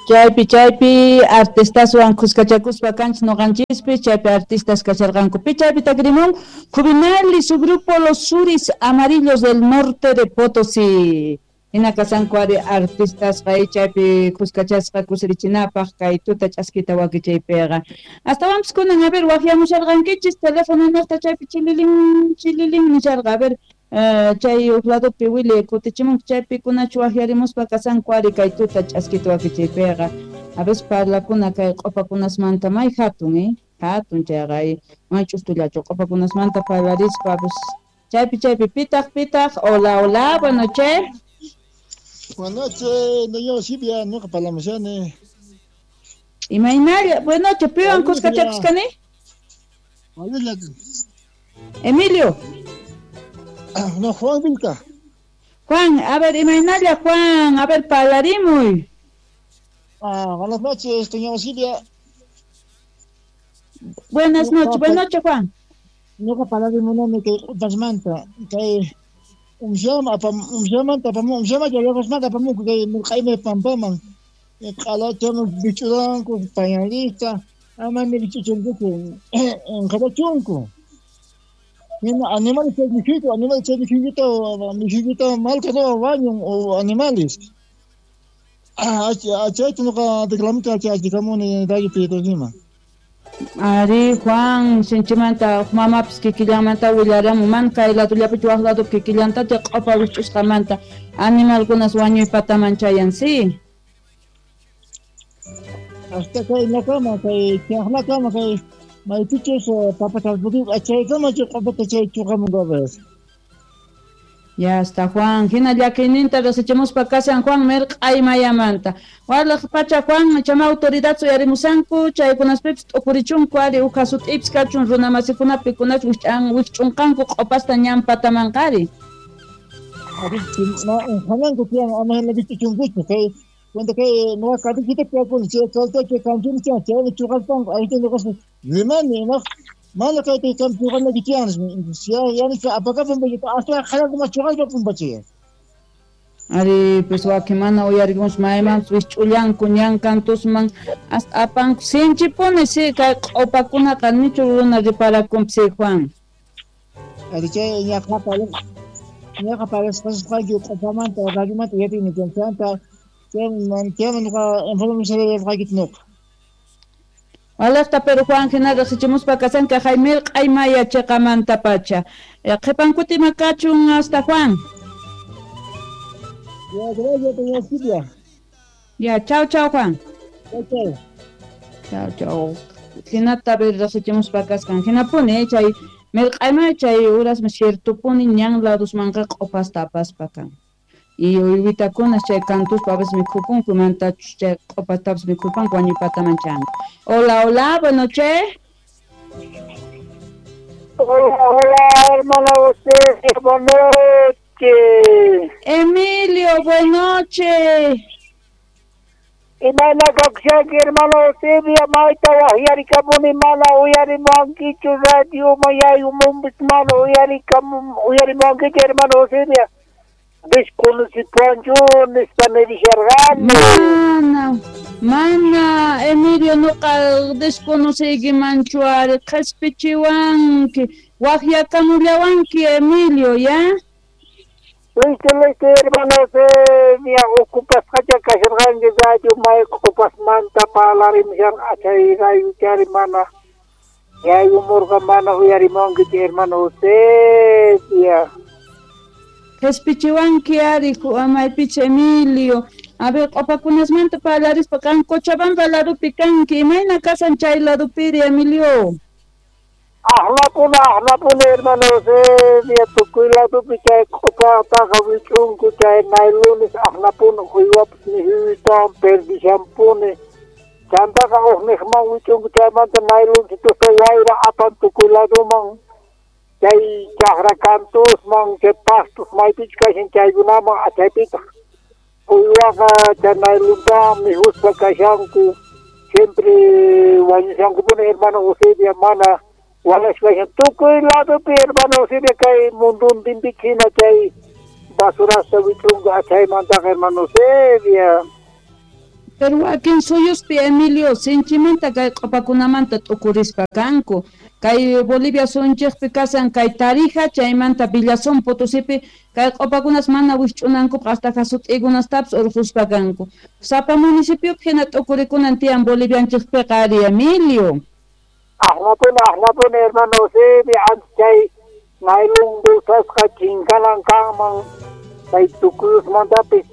Chaypi artistaswan khuskachakuspa kanchis noqanchispis, chaypi artistas kasharqanku. Pi chaypi takirimun Juvenal y su grupo Los Suris Amarillos del Norte de Potosí. Hina kasanku ari artistasqa chaypi khuskachasqa kusirichinapaq kay tuta ch'askita wakichaypiqa. Astawanpis kunan, a ver, waqyamusharqankichis teléfono niqta chaypi chililin chililin nisharqa. A ver, chay uq ladopi Willy kutichimunki chaypi kunachu waqyarimuspa kasanku ari kay tuta ch'askita wakichaypiqa. A veces parlakuna kay q'upakunasmanta may hatun, hatun chayqa may ch'ustullachu q'upakunasmanta parlarispa pues chaypi pitaq pitaq. Hola, hola, buenas noches. Buenas noches, doña Silvia, ñuqa parlamushani. Imaynalla, buenas noches, piwan kuskachakuskani? Emilio. No, Juan Vilca. Juan, a ver, imaynalla, Juan, a ver, parlarimuy. Ah, buenas noches, doña Silvia. Buenas noches, buenas noches, Juan. Ñuqa parlarimunani kay q'upasmanta, kay umshamanta apamun, umshamanta yaqasmanta apamunku kay mirq'aymi pampaman. Q'alachaman bich'uranku, pañalista, ama ni bich'uchunkuchu, qhatachunku. Hina animales chay mikhuyku, animales chay mikhuykuta malta wañun o animales. Chayta ñuqa reclamita achikamuni radiopi tosima. Ari, Juan, sinchimanta mamapis kikillanmanta willaramun, man kay ladollapichu waq ladopi kikillanta chay q'upa wich'usqamanta animalkunas wañuy pataman chayan, sí. Hasta kay nakama, kay chaqnakama, kay maypichus papa tarpukuy chaykama chay q'upata chay chuqamun veces. Ya está, Juan. Hina llakiyninta riqsichimuspa kashan Juan mirq'ay mayamanta. Walaq pacha Juan, chama autoridad suyarimusanku, chaykunaspipis t'ukurichunku ari uq hasut'ipis kachun runa masikunapi kunach wikch'unqanku q'upasta ñan patamanqari. Hananku tiyan ama hina bich'uchunkuchu kay cuando kay nuqa katikita tiyakuni chay chay chay kanchuni chay chaymi chuqaspanku ayta nuqaspa rimani imaq mana kayta kan chuqanaki tiyan yani apakapun hasta qharanku mas chuqaspa pumpachay. Ari pues wakin mana uyarikunchu maymanpis wikch'ullanku ñan kantusman hasta apanku sinchipuni sí kay q'upakunaqa nichu runa riparakunpis sí, Juan. Ari chay ñaqa parasqasqayki q'upamanta radiomanta yatini chanta chayman ñuqa información nuqa. Walaqta pero Juan hina riqsichimuspa kasanka Jaime Q'aymaya chiqamanta pacha. Qhipankuti ima kachun hasta Juan. Ya, gracias, doña Silvia. Ya, chao, chao, Juan. Chao, chao. Chao, chao. Hinata riqsichimuspa kaskan. Hinapuni chay mirq'aymaya chay urasmi ciertopuni ñan ladosmanqa q'upasta apaspa kan. Y uywitakunas chay kantuspa a veces mikhupunku mantachus chay q'upastapis mikhupanku wañuy pataman chanku. Hola, hola, buenas noches. Hola, hola, hermana José, buenas noches. Emilio, buenas noches. Imayna kakushanki, hermano Eusebia, mayta waqyarikamuni mana uyarimuwankichu radio mayayumumpis mana uyarimuwankichu, hermano Eusebia. Desconocipuanchu nispa nirisharqani. Mana, Emilio, nuqa desconociykimanchu ari, qhispichiwanki, waqyakamullawanki, Emilio, ya? Listo, listo, hermano Eusebia, ocupasqacha kasharqanki radio may q'upasmanta parlarimusharqa chay rayuchari mana yayumurqa mana uyarimunkichu, hermano Eusebia. Qhispichiwanki ari maypicha Emilio. A ver, q'upakunasmanta parlarispa kan Cochabamba ladopi kanki, imayna kasan chay ladopiri, Emilio? Aqlapuna, hermano Eusebia, tukuy ladopi chay q'upataqa wich'unku chay naylunes aqlapuna uywapis mikhuytawan perdishanpuni. Chantaqa uqniqman wich'unku chaymanta naylunsitusta wayra apan tukuy ladoman. Chay chaqra kantusman, chay pastos maypichu kashan chaykunaman achaypitaq uywaqa chay nayluntawan mikhuspa kashanku siempre wañushankupuni, hermano Eusebia, mana walashpa kashan tukuy ladopi, hermano Eusebia, kay munduntinpi hina chay basurasta wich'unku achaymantaqa, hermano Eusebia. Pero wakin suyuspi Emilio sinchimanta kay q'upakunamanta t'ukurispa kanku. Kay Bolivia suyunchikpi kasan kay Tarija, chaymanta Villazón Potosipi kay q'upakunas mana wikch'unankupaq hasta jasut'ikunastapis urquspa kanku. Sapa municipiopi hina t'ukurikunan tiyan Bolivianchikpiqa ari Emilio. Ajnapuni hermano Eusebio, antes chay nailon bolsasqa chinkanan kanman, chay tukuyusmantapis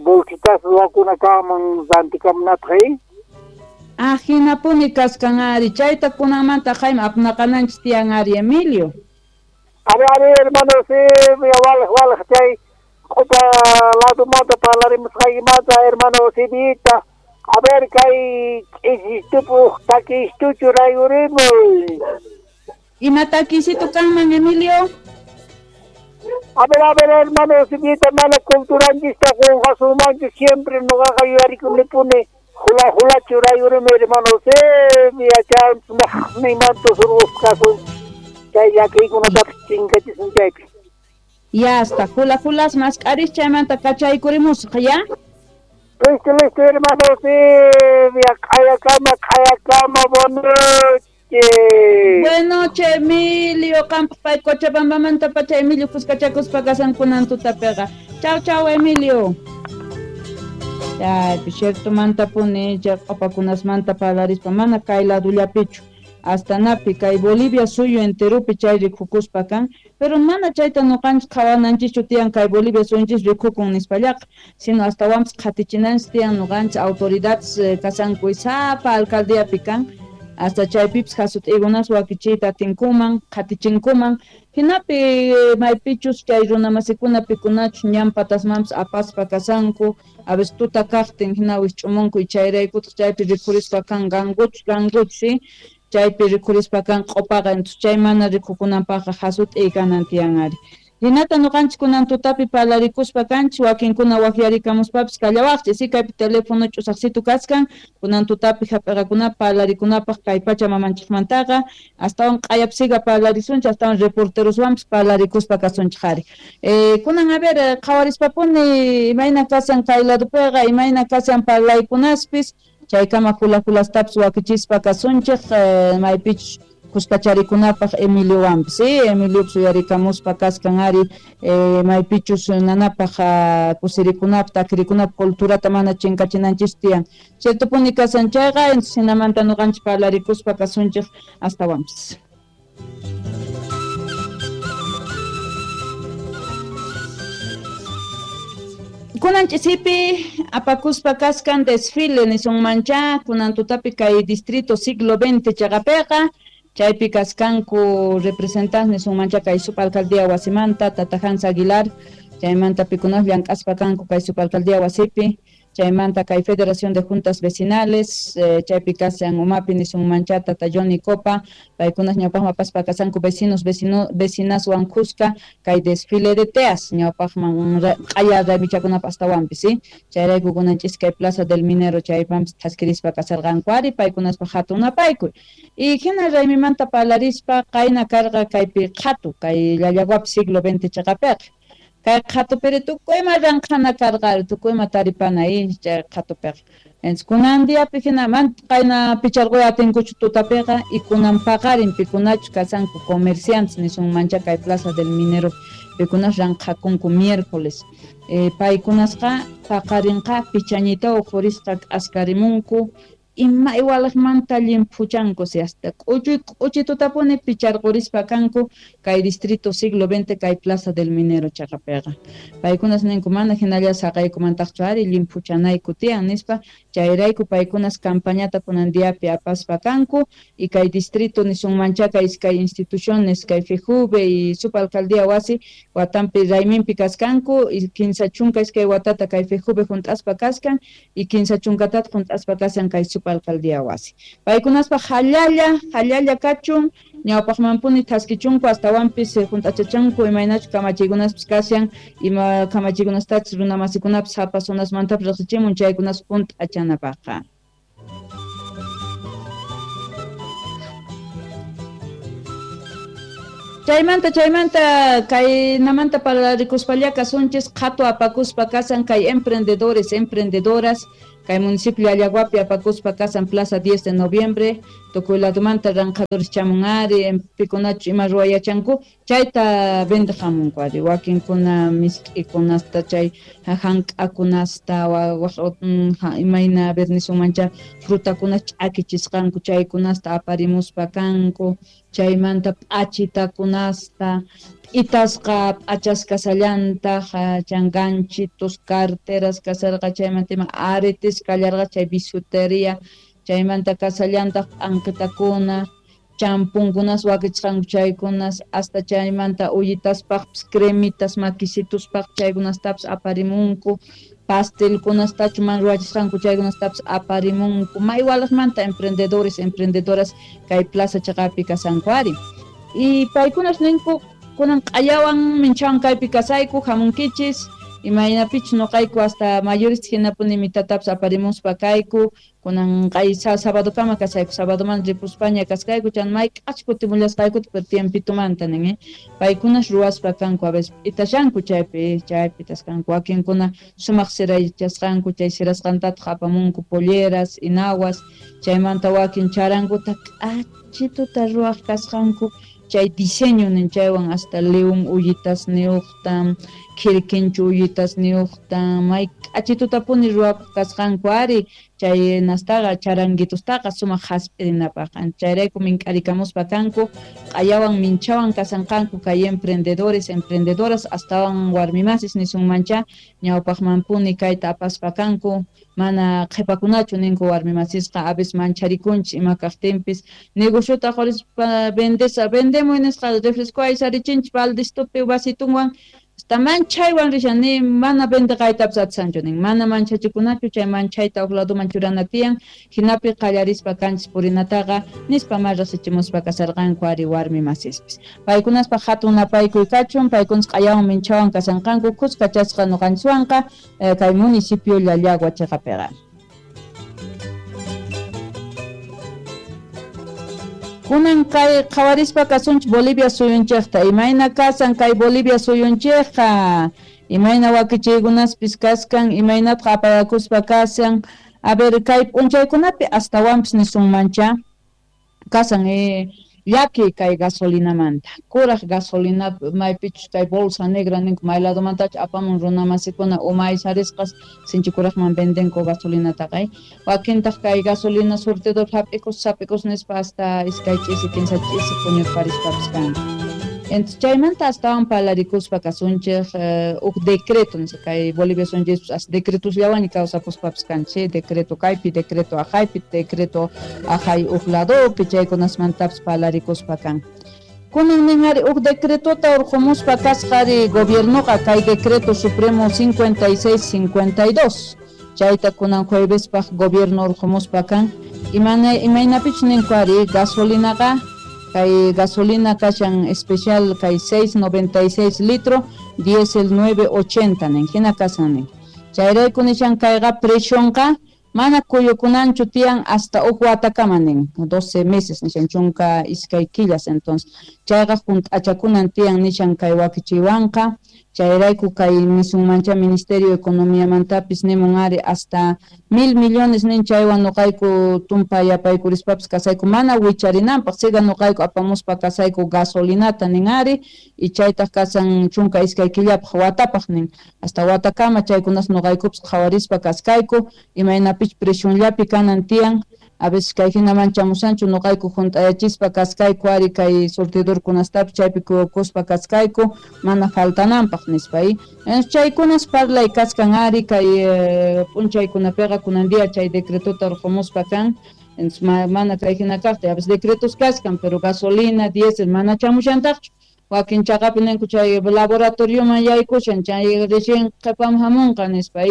bolsitas ruwakuna kanman rantikamunapaq. Ajinapuni kaskan ari, chayta kunanmanta Jaime apnaqananchis tiyan ari Emilio. Ari hermano Eusebio, walej chay q'upa ladumanta parlarimusqaykimanta hermano Eusebita. A ver kay ch'isistupuq takistuchu rayurimuy. Ima takisitu kanman Emilio? A ver hermano Eusebita, mana culturanchista qunqasunmanchu siempre noqaqa yuyarikunipuni hula hulachu rayurimuy hermano Eusebio, chay surqusqasun chay llakiykunatapis chinkachisun chaypi. Ya hasta hula hulas mask'aris chaymanta kachaykurimusaq ya. Listo, hermano Eusebio, q'ayakama, buenas noches. Buenas noches, Emilio. Qanpaq pay Cochabambamanta pacha Emilio kuskachakuspa kasankunan tutapiqa. Chau, Emilio. Chaypi ciertomantapuni chay q'upakunasmanta parlarispa mana kay ladullapichu. Hasta napi kay Bolivia suyu enterupi chay rikukuspa kan, pero mana chayta nuqanchis qhawananchikchu tiyan kay Bolivia suyunchis rikukun nispallaqa, sino hastawanpis qhatichinanchis tiyan nuqanchis autoridades kasanku sapa alcaldiapi kan, hasta chaypipis jasut'ikunas wakichiyta atinkuman, qhatichinkuman, hinapi maypichus chay runamasikuna pikunachus ñan patasmanpis apaspa kasanku, a veces tuta kaqtin hina wikch'umunku y chayraykutaq chaypi rikhurispa kan ganguchus, chaypi rikhurispa kan q'upaqa, entonces chay mana rikukunanpaqqa jasut'iy kanan tiyan ari. Hinata nuqanchis kunan tutapi parlarikuspa kanchis, wakinkuna waqyarikamuspapis kallawaqchis, si kaypi teléfono ch'usaqsitu kaskan, kunan tutapi hap'iqakunapaq parlarikunapaq kay pacha mamanchikmantaqa, astawan q'ayapsiga parlarisunchik, astawan reporteroswanpis parlarikuspa kasunchik ari. Kunan a ver, qhawarispapuni imayna kasan kay ladupiqa, imayna kasan parlaykunaspis, chaykama hula hulastapis wakichispa kasunchik, maypichus kuskacharikunapaq Emiliowanpis, ¿sí? Emiliopis uyarikamuspa kaskan ari, maypichus nanapaq kusirikunapaq, takirikunapaq culturata mana chinkachinanchis tiyan. Ciertopuni kasan chayqa, entonces hinamanta nuqanchis parlarikuspa kasunchik hastawanpis. Kunan ch'isipi apakuspa kaskan desfile nisunmancha, kunan tutapi kay distrito siglo XX chaqapiqa, chaypi kaskanku representantes nisunmancha kay subalcaldía wasimanta, Tata Hans Aguilar, chaymanta pikunas llank'aspa kanku kay subalcaldía wasipi, chaymanta kay Federación de Juntas Vecinales, chaypi kasan umapi nisunmancha Tata Johnny Copa, paykunas ñawpaqman apaspa kasanku vecinos, vecinaswan kuska kay desfile de teas, ñawpaqman q'aya raymichakunapaq astawanpis, ¿sí? Chayrayku kunan ch'isi kay Plaza del Minero chaypanpis thaskirispa kasarqanku ari, paykunaspaq hatun napaykuy. Y hina raymimanta parlarispa qayna karqa kaypi qhatu, kay Llallaguapi siglo XX chaqapiqa. Kay qhatupiri tukuyma ranqhana karqa, tukuyma taripana chay qhatupiqa. Entonces kunan diapi hina man qayna picharquy atinkuchu tutapiqa y kunan paqarin pikunachu kasanku comerciantes nisunmancha kay Plaza del Minero pikunas ranqhakunku miércoles. Paykunasqa paqarinqa pichañita uqhurisqa k'askarimunku, ima iwalaqmanta llimphuchanku si hasta k'uchuy tutapuni picharqurispa kanku kay distrito siglo XX kay Plaza del Minero chaqapiqa. Paykunas ninku mana hinalla saqaykumantaqchu ari llimphuchanayku tiyan nispa, chayrayku paykunas campañata kunan diapi apaspa kanku y kay distrito nisunmancha kay iskay instituciones kay FEJUVE y subalcaldía wasi watanpi rayminpi kaskanku y 32 watata kay FEJUVE junt'aspa kaskan y 30 junt'aspa kasan kay subalcaldía wasi. Paykunaspa hallalla kachun, ñawpaqmanpuni thaskichunku astawanpis junt'achachanku imaynachu kamachiykunaspis kashan, ima kamachiykunastachus runamasikunapis sapa zonasmantapis riqsichimun chaykunas junt'achanapaqqa. Chaymanta kaynamanta parlarikuspalla kasunchis qhatu apakuspa kasan kay emprendedores, emprendedoras, Kay municipio Llallaguapi apakuspa kasan Plaza 10 de Noviembre, tukuy ladumanta ranqadores chamun ari, pikunachu ima ruwayachanku, chayta vendeq hamunku ari, wakinkuna misk'ikunasta, chay hank'akunasta, imayna vernisunmancha frutakuna ch'akichisqanku chaykunasta aparimuspa kanku, chaymanta p'achitakunasta, p'itasqa p'achas kasallantaq, chan ganchitos, carteras kasarqa, chaymanta ima aretes kallarqa, chay bisuteria, chaymanta kasallantaq p'anqitakuna, champunkunas wakichisqanku chaykunas, hasta chaymanta ullitaspaqpis, cremitas, maquisituspaq chaykunastapis aparimunku, pastelkunastachu man ruwachisqanku chaykunastapis aparimunku, maywalaqmanta emprendedores, emprendedoras kay plaza chaqapi kasanku ari. Y paykunas ninku kunan q'ayawan minchawan kaypi kasayku, hamunkichis, imaynapichus noqayku hasta mayorista hinapuni mitatapis aparimuspa kayku, kunan q'ay sabadokama kasayku, sabadoman ripuspaña kaskayku, chan mayk'ach kutimullasqaykuta, pero tiempitumanta nin, paykunas ruwaspa kanku, a veces p'itashanku chaypi, chaypi taskanku, wakinkuna sumaq siraychasqanku, chay sirasqantataq apamunku polleras, inaguas, chaymanta wakin charankuta k'achituta ruwaq kasqanku, chay diseño nin chaywan hasta león ullitas niuqta, khirkinchu ullitas niuqta, may k'achitutapuni ruwakuq kasqanku ari, chay nastaqa charanguitustaqa sumaq hasp'irinapaq, chayrayku mink'arikamuspa kanku, q'ayawan minchawan kasanqanku kay emprendedores, emprendedoras, astawan warmimasis nisunmancha, ñawpaqmanpuni kayta apaspa kanku, mana qhipakunachu ninku warmimasisqa, a veces mancharikunchis ima kaqtinpis, negociota qurispa vendesa, vendemuy nisqa refresco aysarichinchis baldistupi vasitunwan, hasta manchaywan rishan ni mana vendeqaytapis atisanchu nin, mana manchachikunachu, chay manchayta huk laduman churana tiyan, hinapi qallarispa kanchis purinataqa nispa ma rasichimuspa kasarqanku ari warmi masispis. Paykunaspa hatun napaykuy kachun, paykunas q'ayawan minchawan kasanqanku, kuskachasqa nuqanchiswanqa kay municipio Llallagua chiqapiqa. Kunan kay qhawarispa kasunchik Bolivia suyunchikta, imayna kasan kay Bolivia suyunchikqa, imayna wakichiykunaspis kaskan, imaynataq apayakuspa kasan, a ver kay p'unchaykunapi astawanpis nisunmancha kasan llaki kay gasolinamanta, kuraq gasolina maypichus kay bolsa negra ninku may ladomantachu apamun runamasikuna umaysarisqas sinchi kuraqman vendenku gasolinataqa, wakintaq kay gasolina surtidor hap'ikus sap'ikus nispa hasta iskay ch'isi kinsa ch'isi puñurparispapis kanku. Entonces chaymanta astawan parlarikuspa kasunchik huk decreto nisqa kay Bolivia suyunchispis hasta decretosllawanña kawsakuspapis kanchik, decreto kaypi, decreto ajaypi, decreto ajay huk ladopi, chaykunasmantapis parlarikuspa kan. Kunan nin ari huk decretota urqumuspa kasqa ari gobiernoqa kay decreto supremo 5652, chayta kunan juevespaq gobierno urqumuspa kan, imaynapichus ninku ari gasolinaqa kay gasolina kashan especial kay 6.96 litro, diésel 9.80 nin, hina kasan nin. Chayrayku nishan kayqa presionqa mana kuyukunanchu tiyan hasta huk watakama nin, 12 meses nishan chunka iskay killas, entonces chayqa hunt'achakunan tiyan nishan kay wakichiwanqa, chayrayku kay nisunmancha Ministerio de Economiamantapis nimun ari hasta 1,000 millones nin chaywan nuqayku tumpa yapaykurishpapis kasayku mana wicharinanpaq, siga nuqayku apamuspa kasayku gasolinata nin ari, y chaytaq kasan chunka iskay killapaq watapaq nin, hasta watakama chaykunas nuqaykupis qhawarispa kaskayku, imaynapich presionllapi kanan tiyan, a veces kay hinaman chamusanchu nuqayku hunt'ayachispa kaskayku ari kay surtidorkunastapis chaypi kuyukuspa kaskayku mana faltananpaq nispa. Chaykunas parlay kaskan ari kay p'unchaykunapiqa kunan día chay decretota urqumuspa kan, entonces mana kay hina kaqta, a veces decretos kaskan pero gasolina, diésel mana chamushantaqchu, wakin chaqapi ninku chay laboratorioman yaykushan chay recién qhipaman hamunqa nispa,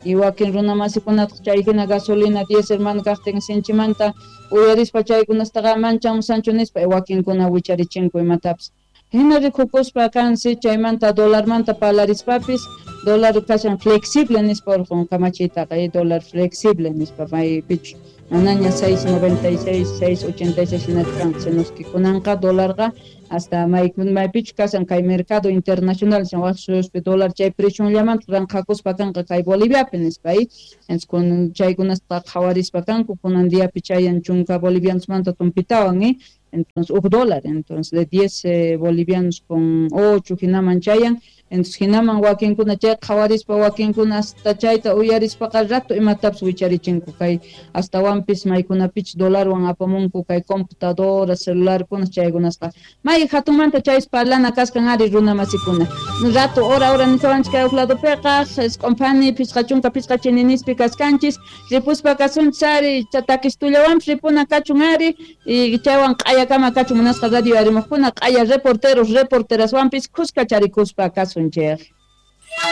y wakin runamasikunataq chay hina gasolina diésel mana kaqtin sinchimanta uyarispa chaykunastaqa manchamusanchu nispa, wakinkuna wicharichinku imatapis. Hina rikukuspa kansi chaymanta dolarmanta parlarispapis Dólar kashan flexible nispa orqon kamachiytaqa, dólar flexible nispa maypichus manaña 6.96, 6.86 hinachu kanqa, sino que kunanqa dólarqa hasta maypichus kashan kay mercado internacional waj suyuspi dólar chay precionllamanta ranqhakuspa kanqa kay Boliviapi nispa, entonces kun chaykunasta qhawarispa kanku kunan diapi chayan chunka bolivianosmanta tumpitawan, entonces uj dólar, entonces de 10 bolivianos con 8 hinaman chayan, entonces hinaman wakinkuna chay qhawarispa wakinkuna hasta chayta uyarispaqa rato imatapis wicharichinku kay astawanpis maykunapich dólarwan apamunku kay computadora celularkuna chaykunasqa may hatunmanta chaypis parlana kaskan ari runa masikuna rato hora hora nisawanchik kay uj ladopiqa isq'unphani 55 chininispi kaskanchis ripuspa kasunchis ari takistullawanpis ripuna kachun ari y chaywan q'ayakama kachun munasqa radio arimuqkuna q'aya reporteros reporteraswanpis khuska charikuspa kasunchik.